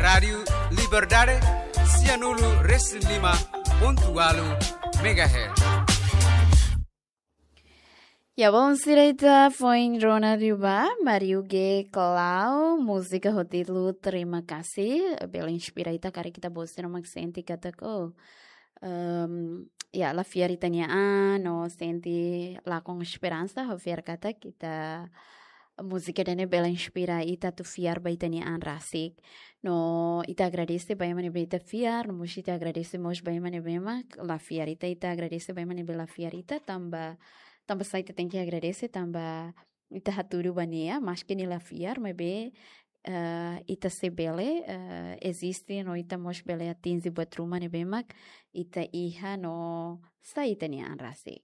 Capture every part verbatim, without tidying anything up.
Rádiu Liberdade, sianulu resin lima pontu ualu megahertz. Ya, bom, sira ita foin rona liu ba, Mario G Clau, múzika ho títulu Terima Kasih, bele inspira ita karik ita-boot sira mak sente katak, ehm, ya, la fiar ita-nia an, no sente lakon esperansa, ho fiar katak ita múzika ida-ne'e bele inspira ita atu fiar ba ita-nia an rasik. No ita agradese ba ema ne'ebé ita fiar, no mós ita agradese mós ba ema ne'ebé mak la fiar ita, ita agradese ba ema ne'ebé la fiar ita, tanba, tanba sá ita tenke agradese, tanba ita hatudu ba nia, maski nia la fiar, maibé, eh, ita sei bele, eh, eziste, no ita mós bele atinje buat ruma ne'ebé mak ita iha no sai ita-nia an rasik.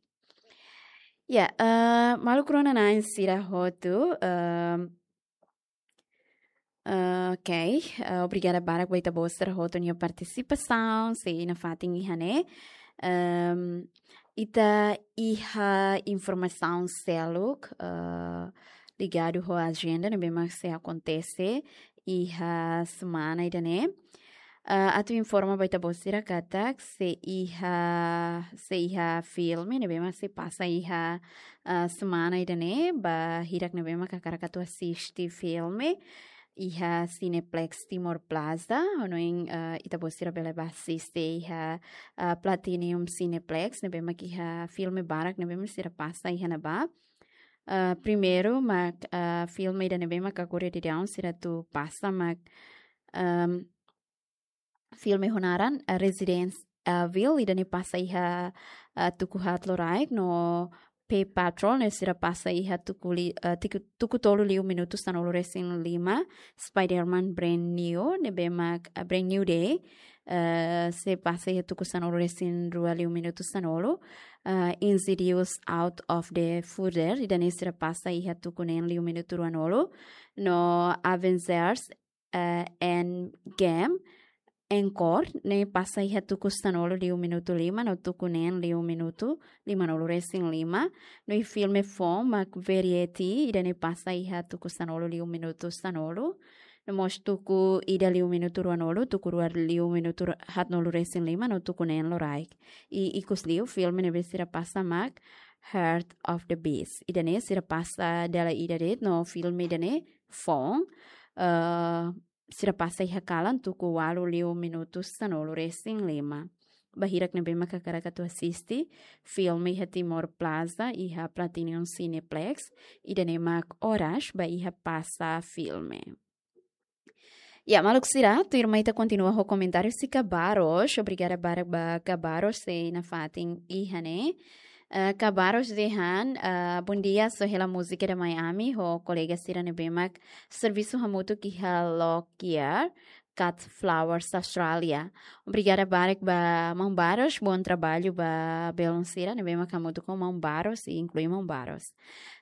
Ya, eh, maluk rona-na'in sira hotu, eh, eh, ok, eh, obrigada barak ba ita-boot sira hotu nia partisipasaun, sei nafatin iha ne'e. Ehm, ita iha informasaun seluk, eh, ligadu ho ajenda ne'ebé mak sei akontese iha semana ida-ne'e. Ah, atu informa ba ita-boot sira katak sei iha, sei iha filme ne'ebé mak sei pasa iha, ah, semana ida-ne'e, ba hirak ne'ebé mak hakarak atu asiste filme iha Cineplex Timor Plaza, hanoin, ah, ita-boot sira bele ba asiste iha, ah, Platinum Cineplex, ne'ebé mak iha filme barak ne'ebé mak sira pasa iha ne'ebá. Ah, primeiru mak, ah, filme ida ne'ebé mak agora daudaun sira atu pasa mak, ehm, filme ho naran, eh, Resident Evil, ida-ne'e pasa iha, eh, tuku haat loraik, no Paw Patrol ne'e sira pasa iha tuku li-, eh, tiku-, tuku tolu liu minutu sanulu resin lima, Spider-Man Brand New, ne'ebé mak, eh, Brand New Day, eh, sei pasa iha tuku sanulu resin rua liu minutu sanulu, eh, Insidious Out of the Further, ida-ne'e sira pasa iha tuku neen liu minutu ruanulu, no Avengers eh, Endgame, Encore, ne'e pasa iha tuku sanulu liu minutu lima, no tuku neen liu minutu limanulu resin lima, no iha filme foun mak Variety, ida-ne'e pasa iha tuku sanulu liu minutu sanulu, no mós tuku ida liu minutu ruanulu, tuku rua liu minutu ru-, haatnulu resin lima, no tuku neen loraik. I ikus liu filme ne'ebé sira pasa mak Heart of the Beast. Ida-ne'e sira pasa dala ida de'it, no filme ida-ne'e foun, eh, sira pasa iha kalan tuku ualu liu minutu sanulu resin lima. Ba hirak ne'ebé mak hakarak atu asiste filme iha Timor Plaza, iha Platinum Cineplex, ida-ne'e mak oras ba iha pasa filme. Ya, maluk sira, tuirmai ita kontinua ho komentáriu husi Kabaros. Obrigada barak ba Kabaros sei nafatin iha ne'e. Eh, Kabaros dehan, eh, bom dia, só hela múzika ida mai ami ho kolega sira ne'ebé mak servisu hamutuk iha Lockyer, Cut Flowers, Austrália. Obrigada barak ba maun Baros, bom trabalho ba belun sira ne'ebé mak hamutuk ho maun Baros, i inklui maun Baros.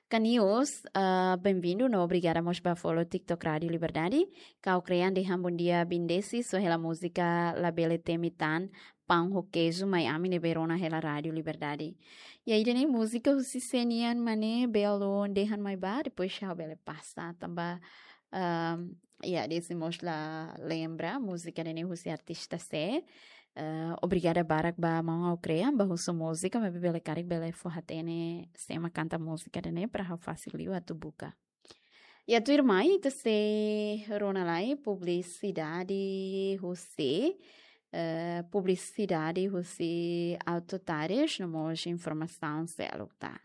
Kanius, ah, bem-vindo, no obrigada mós ba follow TikTok Rádiu Liberdade. Kau Krean dehan bom dia, Bindesi, só hela múzika Labele Temi Tan, Pão ho Queijo, mai ami ne'ebé rona hela Rádiu Liberdade. I ida-ne'e múzika husi sé nian mak ne'e, belun dehan mai ba, depois ha'u bele pasa, tanba, ahm, ya, Desi mós la lembra múzika ida-ne'e husi artista sé. Eh, obrigada barak ba maun Kau Krean, ba husu múzika, maibé bele karik bele fó-hatene sé mak kanta múzika ida-ne'e, para ha'u fasil liu atu buka. Ya, tuirmai, ita sei rona lai publisidade husi, eh, publisidade husi Auto Tires, no mós informasaun seluk tan.